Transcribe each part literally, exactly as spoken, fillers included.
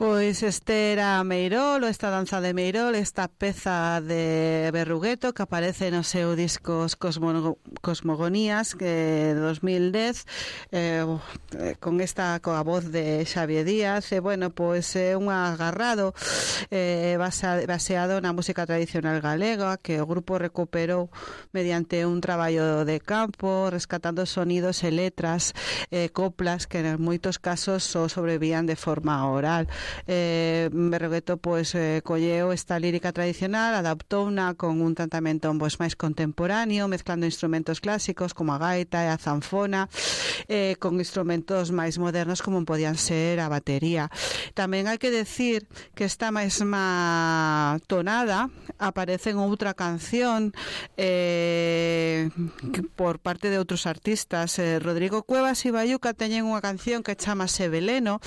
Pois este era Meirol, esta danza de Meirol, esta peza de Berrugueto que aparece no seu discos Cosmo, Cosmogonías que de dos mil dez, eh, con esta coa voz de Xavier Díaz. E bueno, pois é un agarrado eh, baseado na música tradicional galega que o grupo recuperou mediante un traballo de campo, rescatando sonidos e letras, eh, coplas que en moitos casos só sobrevían de forma oral. Eh, Berrugueto pois eh, colleu esta lírica tradicional, adaptouna con un tratamento pois máis contemporáneo, mezclando instrumentos clásicos como a gaita e a zanfona, eh, con instrumentos máis modernos como podían ser a batería. Tamén hai que decir que esta mesma tonada aparece en outra canción eh, por parte de outros artistas. eh, Rodrigo Cuevas e Bayuca teñen unha canción que chamase Veleno,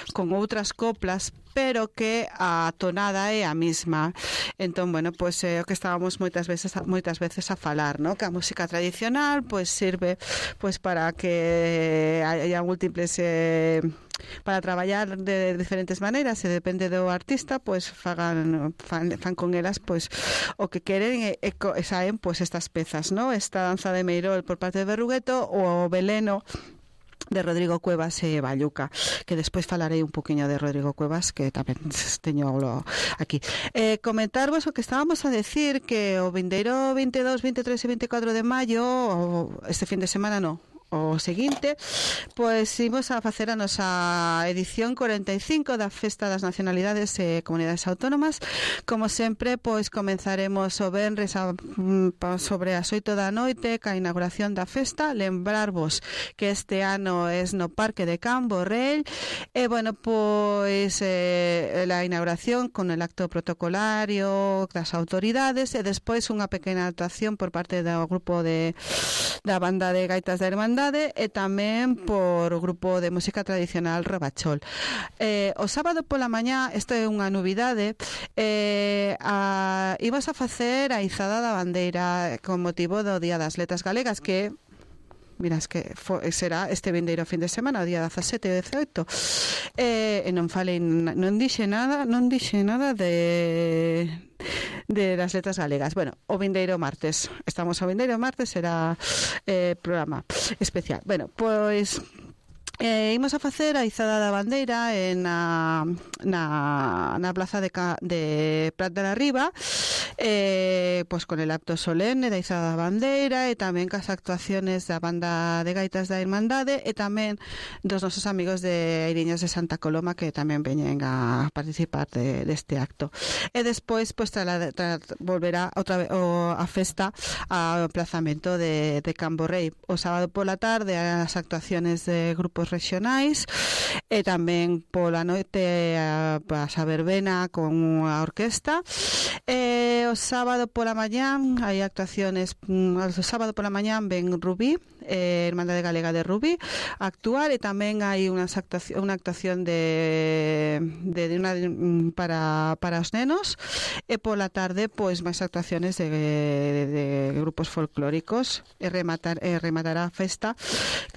con outras coplas, pero que a tonada é a mesma. Entón, bueno, pois é o que estábamos moitas veces moitas veces a falar, ¿no? Que a música tradicional pois sirve pois para que haya múltiples eh, para traballar de diferentes maneiras, e depende do artista, pois fagan fan, fan con elas pois o que queren e, e, e saen pois estas pezas, ¿no? Esta danza de Meirol por parte de Berrugueto, o Veleno de Rodrigo Cuevas e Bayuca, que despois falarei un poquinho de Rodrigo Cuevas, que tamén teño aquí. Eh, comentarvos o que estábamos a decir, que o vindeiro veintidós, veintitrés e veinticuatro de maio, este fin de semana no, o seguinte, pois imos a facer a nosa edición cuarenta e cinco da Festa das Nacionalidades e Comunidades Autónomas. Como sempre, pois comenzaremos o venres a, sobre as oito da noite ca inauguración da festa. Lembrarvos que este ano é no Parque de Cambo Real, e bueno, pois eh, la inauguración con el acto protocolario das autoridades, e despois unha pequena actuación por parte do grupo de da banda de gaitas da Hermandade, e tamén por o grupo de música tradicional Rebachol. Eh, o sábado pola mañá, isto é unha novidade, eh, a, ibas a facer a izada da bandeira con motivo do Día das Letras Galegas, que miras que fo, será este vindeiro fin de semana, o día dezasete e dezaoito. Eh, e non falei, non dixe nada, non dixe nada de de las letras galegas. Bueno, o vindeiro martes, estamos ao vindeiro martes, será eh, programa especial. Bueno, pois Eh, imos a facer a izada da bandeira en na, na, na plaza de, de Prat de la Riba, eh, pois con el acto solene da izada da bandeira, e tamén cas actuaciones da banda de gaitas da Irmandade, e tamén dos nosos amigos de Eiriñas de Santa Coloma, que tamén veñen a participar de, deste acto. E despois pois tra, tra, volverá outra vez o, a festa ao emplazamento de, de Cambo Rei. O sábado pola tarde as actuaciones de grupos regionais, e tamén pola noite a, a verbena con unha orquesta. E o sábado pola mañán hai actuaciones. O sábado pola mañán ven Rubí, eh, Hermandade Galega de Rubí, a actuar, e tamén hai unha actuación, unha actuación de, de, de una para, para os nenos, e pola tarde pois máis actuaciones de, de, de grupos folclóricos, e rematar e rematará a festa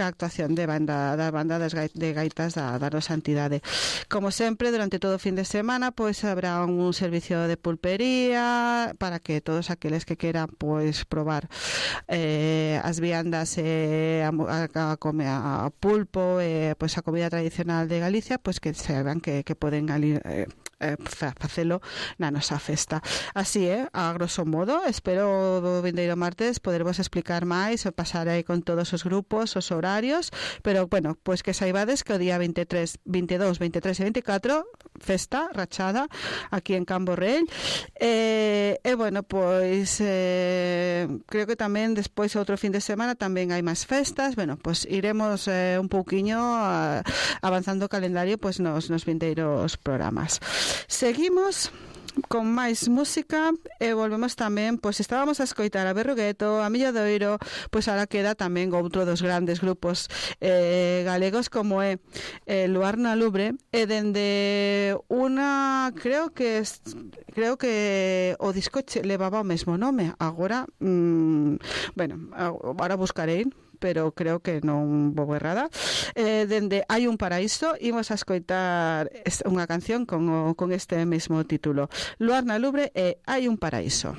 ca actuación de banda da banda das gaitas, de gaitas da, da nosa entidade. Como sempre, durante todo o fin de semana pois habrá un servicio de pulpería para que todos aqueles que queran pois probar eh, as viandas e eh, a, a, a, a pulpo e eh, pois a comida tradicional de Galicia, pois que saibam que, que poden ali eh, eh, facelo na nosa festa. Así é, eh, a grosso modo. Espero o vindeiro martes podervos explicar máis, o pasar aí con todos os grupos, os horarios, pero bueno, pois que saibades que o día veintitrés, veintidós, veintitrés e veinticuatro festa rachada aquí en Cambo Real. E, e bueno, pois eh, creo que tamén despois outro fin de semana tamén hai máis festas. Bueno, pois iremos eh, un pouquiño uh, avanzando o calendario pois nos, nos vindeiros programas. Seguimos con máis música e volvemos tamén, pois estábamos a escoitar a Berrugueto, a Milladoiro, pois ahora queda tamén outro dos grandes grupos eh, galegos como é eh, Luar na Lubre, e dende unha, creo que creo que o disco levaba o mesmo nome, agora mmm, bueno, agora buscarei pero creo que non vou errada. Eh, dende Hai un paraíso, imos a escoitar unha canción con, o, con este mesmo título. Luar na Lubre e Hai un paraíso.